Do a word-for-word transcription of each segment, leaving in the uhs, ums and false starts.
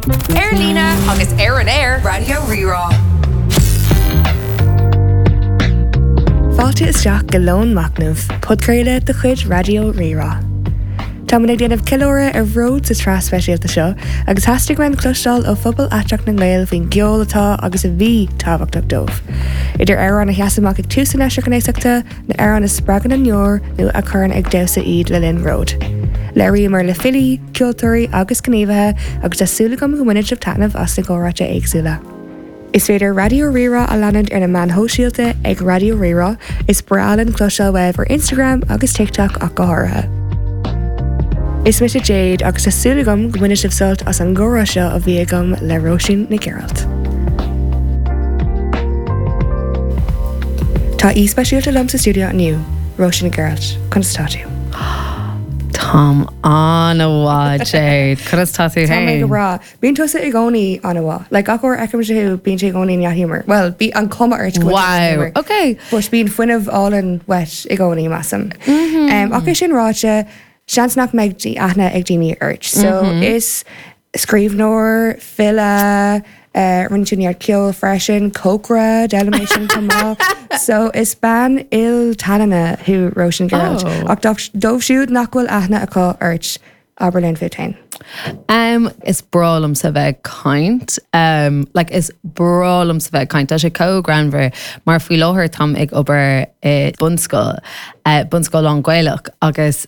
Ar líne agus ar an aer Raidió Rí-Rá. Fáilte isteach go Lón Machnaimh, podchraoladh de chuid Raidió Rí-Rá. Táimid ag déanamh ceiliúradh ar bhród sa tsraith speisialta seo agus theastaigh uainn cloisteáil ó phobal aiteach na nGael faoin gceol atá agus a bhí tábhachtach dóibh. Idir amhráin a sheas amach ag tús a n-eischnéasachta, na hamhráin a spreagann a ndeor nó a chuireann ag damhsa iad le linn bróid. Labhraíomar le filí, ceoltóirí agus gníomhaithe agus tá súil agam go mbainfidh sibh taitneamh as na comhráite éagsúla. Is féidir Raidió Rí-Rá a leanúint ar na meáin shóisialta ag Raidió Rí-Rá, is breá linn cloisteáil uaibh ar Instagram agus TikTok ach go háirithe. Is mise Jade agus tá súil agam go mbainfidh sibh sult as an gcomhrá seo a bhí agam le Róisín Nic Gearailt. Tá aoi speisialta liom sa stiúideo inniu, Róisín Nic Gearailt, conas tá tú? Táim an-mhaith Jade, conas tá tú Tá mé go féin? breá. Bíonn tusa i gcónaí an-mhaith. Like gach uair a fheicimse thú bíonn sé i gcónaí dea-ghiúmar. Well, bí an cuma ort go bhfuil tú Wow, dea-ghiúmar. okay. But bíonn fuinneamh álainn uait i gcónaí measaim. Um, ach é sin ráite, seans nach mbeidh aithne ag daoine ort. So is scríbhneoir, file, uh, rinne tú neart ceoil freisin, cócaire, d'fhoghlaim mé sin chomh maith. So is bean iltallainne thú Róisín Gearailt. Oh. Ach dóibh dóibh siúd nach bhfuil aithne acu ort, abair linn fút féin. Um, is breá liomsa bheith ag caint um, like is breá liomsa bheith ag caint Tá sé chomh greannmhar mar faoi láthair táim ag obair i bunscoil uh, bunscoil lán-Ghaelach agus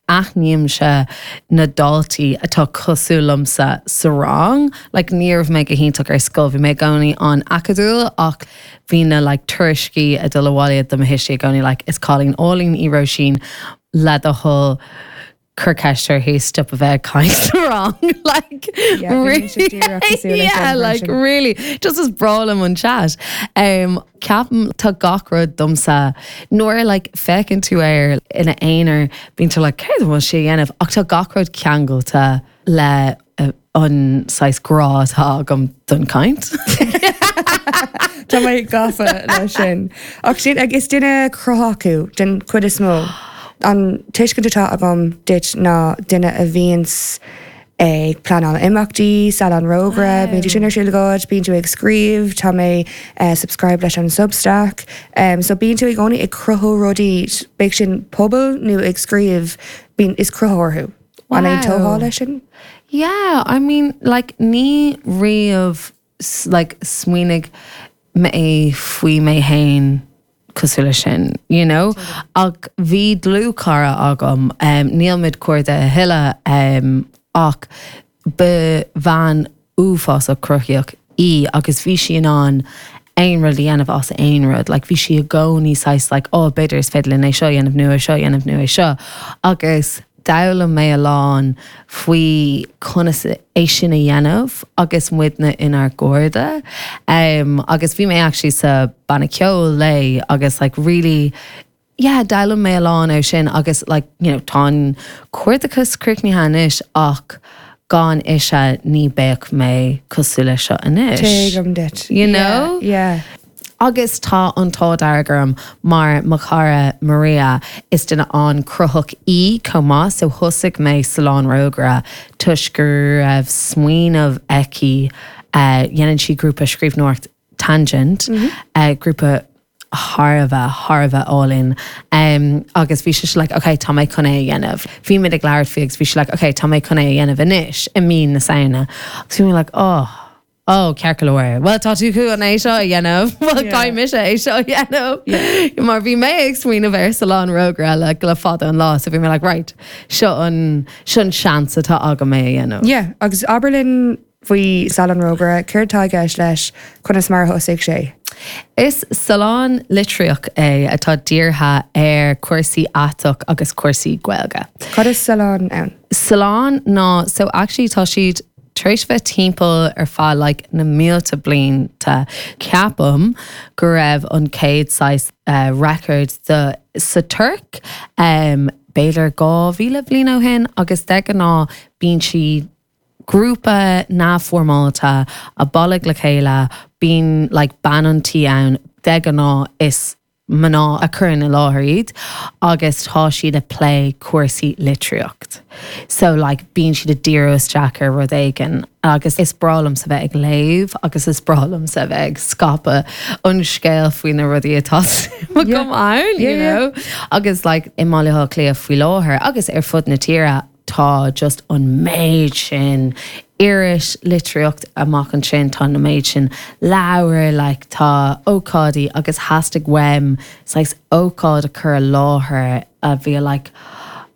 aithnímse na daltaí atá cosúil liomsa sa rang, like ní raibh mé go hiontach ar scoil, bhí mé i gcónaí an-acadúil ach bhí na like tuairiscí ag dul abhaile do mo thuistí i gcónaí like is cailín álainn í Róisín le do thoil cuir ceist uirthi stop a bheith ag caint sa rang like Yeah, bhí mise díreach cosúil leis yeah, sin like freisin. really just is breá liom an chat. Um, ceapaim tá gach rud domsa nuair like féachann tú air ina aonar bíonn tú like céard a bhfuil sé a dhéanamh ach tá gach rud ceangailte le uh, an saghas grá atá agam don caint. Tá mé gafa leis sin. Ach sin ag is duine cruthaitheach thú den chuid is mó. An tuiscint atá agam duit ná duine a bhíonns ag pleanáil imeachtaí, Salon Rógaire, bíonn tú sin ar siúl agat, bíonn tú ag scríobh, tá mé uh, subscribe leis an Substack. Um, so bíonn tú i gcónaí ag cruthú rudaí, bíodh sin pobal nó ag scríobh, bíonn is cruthaitheoir thú. An é Wow. tógáil leis sin? Yeah, I mean like ní riamh s- like smaoinigh mé faoi mé féin cosúil leis sin, you know? Ach bhí dlúthchara agam, um, nílimid cairde a thuilleadh um, ach ba bhean uafásach cruthaitheach í agus bhí sí in ann aon rud a dhéanamh as aon rud, like bhí sí i gcónaí saghas like oh b'fhéidir is féidir linn é seo a dhéanamh nó é seo a dhéanamh nó é seo. Agus d'fhoghlaim mé a lán faoi conas é sin a dhéanamh agus muidne inár gcairde. Um, agus bhí mé actually sa banna ceoil léi agus like really yeah, d'fhoghlaim mé a lán ó sin agus like, you know, tá an cairdeas críochnaithe anois ach gan ise ní bheadh mé cosúil leis seo anois. Tuigim duit. You know? Yeah. yeah. Agus tá an t-ádh dearg orm mar mo chara Maria is duine an-chruthaitheach í chomh maith so thosaigh mé Salon Rógaire toisc go raibh smaoineamh aici uh, dhéanann sí grúpa scríbhneoireacht Tangent, mm -hmm. uh, grúpa thar a bheith thar a bheith álainn um, agus bhí sí like okay tá mé chun é a dhéanamh. Bhí mé ag labhairt faoi agus bhí sí like okay tá mé chun é a dhéanamh anois i mí na Samhna. Agus bhí mé like oh Oh, ceart go leor. Well tá tú chun é seo a dhéanamh, Well Yeah. caithfidh mise é seo a dhéanamh. Mar bhí mé ag smaoineamh ar Salon Rógaire le le fada an lá, so bhí mé like right, seo an seo an seans atá agam é a dhéanamh. Yeah, agus abair linn faoi Salon Rógaire, céard atá i gceist leis conas mar a thosaigh sé. Is salon litríoch é atá dírithe ar cúrsaí aiteach agus cúrsaí Gaeilge. Cad is salon ann? Salon ná so actually tá siad tar éis bheith timpeall ar feadh like, na mílte blianta ceapaim go raibh an chéad saghas uh, record de sa Tuirc um, b'fhéidir dhá mhíle bliain ó shin agus de ghnáth bíonn siad grúpa neamhfhoirmeálta a bailigh le chéile bíonn like, bean an tí ann de ghnáth is mná a chuireann i láthair iad agus tá siad ag plé cúrsaí litríocht. So like bíonn siad ag díriú isteach ar rud éigin agus is breá liomsa bheith ag léamh agus is breá liomsa bheith ag scaipeadh an scéal faoi na rudaí atá agam ann, you Yeah, yeah. know? Agus like i mBaile Átha Cliath faoi láthair agus ar fud na tíre tá just an méid sin iris litríocht amach ansin tá na méid sin leabhar like, tá ócáidí agus theastaigh uaim saghas ócáid a chur i láthair a bhí like,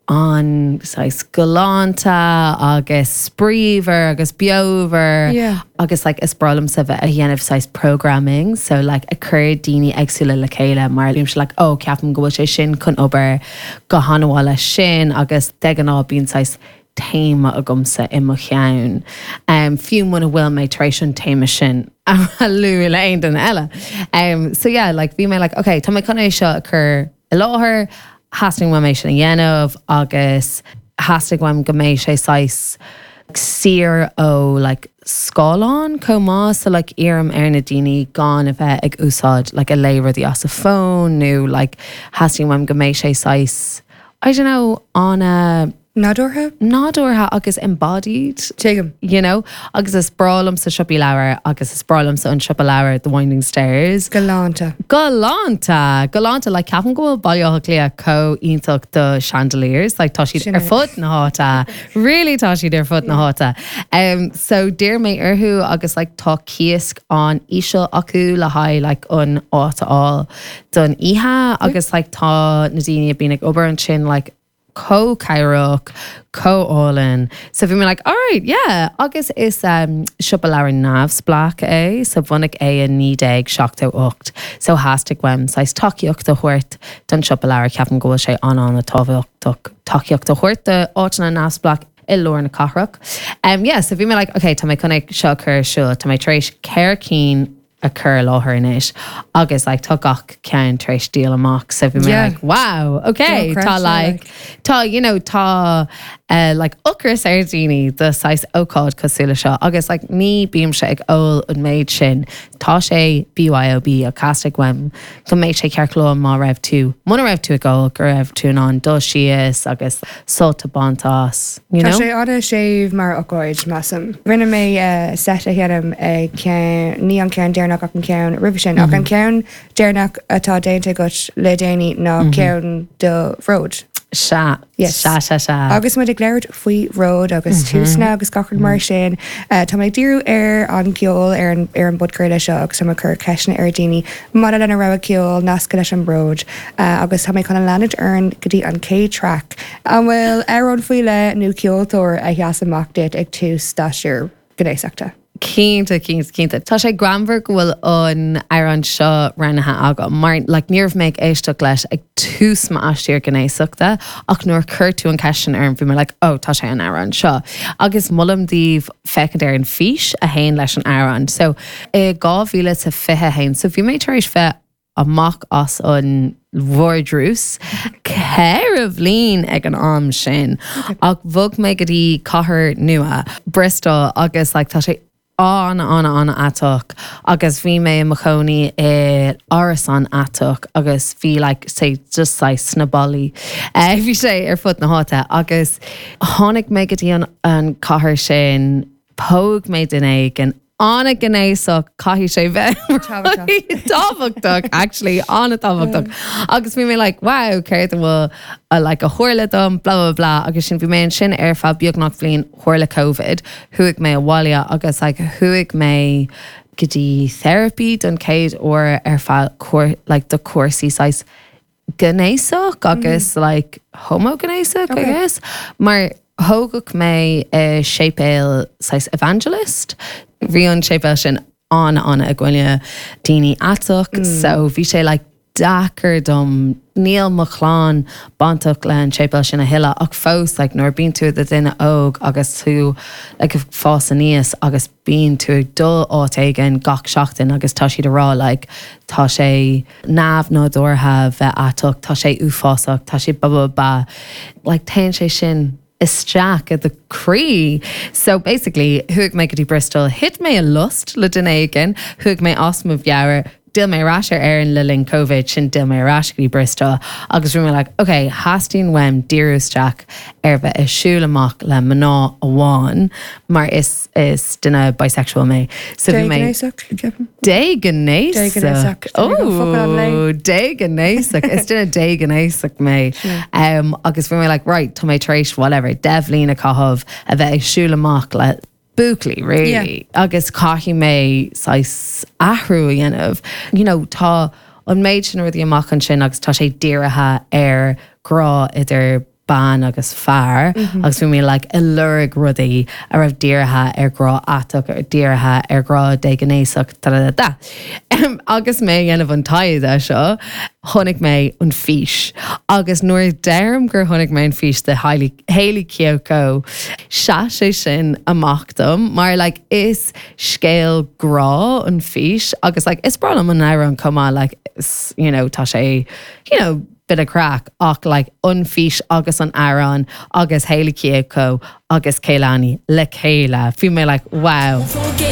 an saghas galánta agus spraíúil agus beomhar Yeah. agus like, is breá liomsa bheith a dhéanamh saghas programming so like, a chur daoine éagsúla le chéile mar bím like, oh, ceapaim go bhfuil sé sin chun obair go han-mhaith leis sin agus de ghnáth bíonn saghas téama agamsa i mo cheann. Um, fiú muna bhfuil mé tar éis an téama sin a lua le aon duine eile. Um, so yeah, like, bhí mé like, okay, tá mé chun é seo a chur i láthair, theastaigh uaim é sin a dhéanamh agus theastaigh uaim go mbeidh sé saghas saor ó like, scáileán chomh maith so like, iarraim ar na daoine gan a bheith ag úsáid like, a léamh rudaí as a fón nó like, theastaigh uaim go mbeidh sé saghas I don't know, an Nádúrtha? nádúrtha agus embodied. Tuigim. You know, agus is breá liomsa siopaí leabhar agus is breá liomsa an siopa leabhar The Winding Stairs. Galánta. Galánta, galánta le ceapaim go bhfuil Baile Átha Cliath chomh iontach do chandeliers, like tá siad Sin ar é. fud na háite. Really tá siad ar fud na háite. Um, so d'iarr mé orthu agus like, tá cíos an-íseal acu le haghaidh like, an áit a fháil don oíche agus like, tá na daoine a bhíonn ag obair ansin like, chomh cabhrach, chomh hálainn. So bhí mé like, alright, yeah. Agus is um, siopa leabhar neamhspleách é, so bunaíodh é i naoi déag seachtó ocht. So theastaigh uaim saghas tacaíocht a thabhairt don siopa leabhar ceapaim go bhfuil sé an an-tábhachtach tacaíocht a thabhairt do áiteanna neamhspleách i lár na cathrach. Um, yeah, so bhí mé like, okay, tá mé chun é seo chur ar siúl, tá mé tar éis ceithre cinn a chur i láthair anois agus like, tá gach ceann tar éis díol amach so bhí mé Yeah. like, wow, okay, tá Dochreidte, like, tá you know tá uh, like ocras ar daoine do saghas ócáid cosúil le seo agus like ní bímse ag ól an méid sin tá sé BYOB a theastaigh uaim go mbeidh sé ceart go leor má raibh tú muna raibh tú ag ól go raibh tú in ann dul síos agus sult a bhaint as you Tá know sé an-séimh mar ócáid measaim. Rinne mé uh, set a dhéanamh ag ceann ní an ceann deireanach ach an ceann roimhe sin ach an ceann deireanach atá déanta agat le déanaí ná ceann do Bhród. Sea Yes. sea sea sea Agus muid ag labhairt faoi bhród agus túsanna agus gach rud mar sin. Uh, Tá mé ag díriú ar an gceol ar an ar an bpodchraoladh seo agus tá mé ag cur ceisteanna ar daoine maidir lena rogha ceoil nasctha leis an bród uh, agus tá mé chun leanúint orainn go dtí an chéad track. An bhfuil amhrán faoi leith nó ceoltóir a sheas amach duit ag tús d'aistear gnéasachta. Cinnte cinnte cinnte. Tá sé greannmhar go bhfuil an amhrán seo roghnaithe agam, mar like, ní raibh mé ag éisteacht leis ag tús m'aistear gnéasachta ach nuair chuir tú an cheist sin orm bhí mé like, oh, tá sé an amhrán seo. Agus molaim daoibh féachaint ar an fís a théann leis an amhrán. So i dhá mhíle sa fiche haon, so bhí mé tar éis bheith amach as an vardrús ceithre bhliain ag an am sin ach bhog mé go dtí cathair nua Bristol agus like, tá sé an an an aiteach agus bhí mé i mo chónaí i árasán aiteach agus bhí like, sé just saghas sna ballaí. Uh, bhí sé ar fud na háite agus tháinig mé go dtí an, an cathair sin phós mé duine éigin an-ghnéasach caithfidh sé bheith tábhachtach actually an-tábhachtach agus bhí mé like wow céard a bhfuil a like a tharla dom blah blah blah agus sin bhí mé ansin ar feadh beagnach bliain tharla COVID chuaigh mé abhaile agus like chuaigh mé go dtí therapy don chéad uair ar feadh like do cúrsaí saghas gnéasach agus mm. like homoghnéasach okay. I guess mar thógadh mé i séipéal saghas evangelist bhí an séipéal sin an an i gcoinne daoine aiteach mm. so bhí sé like deacair dom níl mo chlann bainteach le an séipéal sin a thuilleadh ach fós like, nuair bíonn tú do duine óg agus tú like, fás aníos agus bíonn tú ag dul áit éigin gach seachtain agus tá siad ag rá like, tá sé neamhnádúrtha bheith aiteach, tá sé uafásach, tá sé ba ba ba like, téann sé sin isteach i do chroí. So basically chuaigh mé go dtí Bristol, thit mé i lust le duine éigin, chuaigh mé as mo mheabhair, D'fhill mé ar ais ar Éirinn le linn COVID sin d'fhill mé ar ais go dtí Bristol agus bhí mé like, okay, theastaigh uaim díriú isteach ar bheith ag siúl amach le mná amháin mar is is duine bisexual mé. So bhí mé Déghnéasach Déghnéasach is duine déghnéasach mé um, agus bhí mé like, right, tá mé tar éis whatever, deich mbliana a chaitheamh a bheith ag siúl amach le buachaillí really Yeah. agus caithfidh mé saghas athrú a dhéanamh. You know, tá an méid sin rudaí amach ansin agus tá sé dírithe ar grá idir bean agus fear mm -hmm. agus bhí mé like, ag lorg rudaí a raibh dírithe ar grá aiteach ar dírithe ar grá déghnéasach da da da. Um, agus mé ag déanamh an taighde seo chonaic mé an fís. Agus nuair deirim gur chonaic mé an fís de Hayley, Hayley Kiyoko sheas sé sin amach dom, mar like, is scéal grá an fís agus like, is breá liom an amhrán chomh maith like, is, you know, tá sé you know, bit of craic ach like an fís agus an amhrán agus Hayley Kiyoko agus Kehlani le chéile. Bhí mé like wow.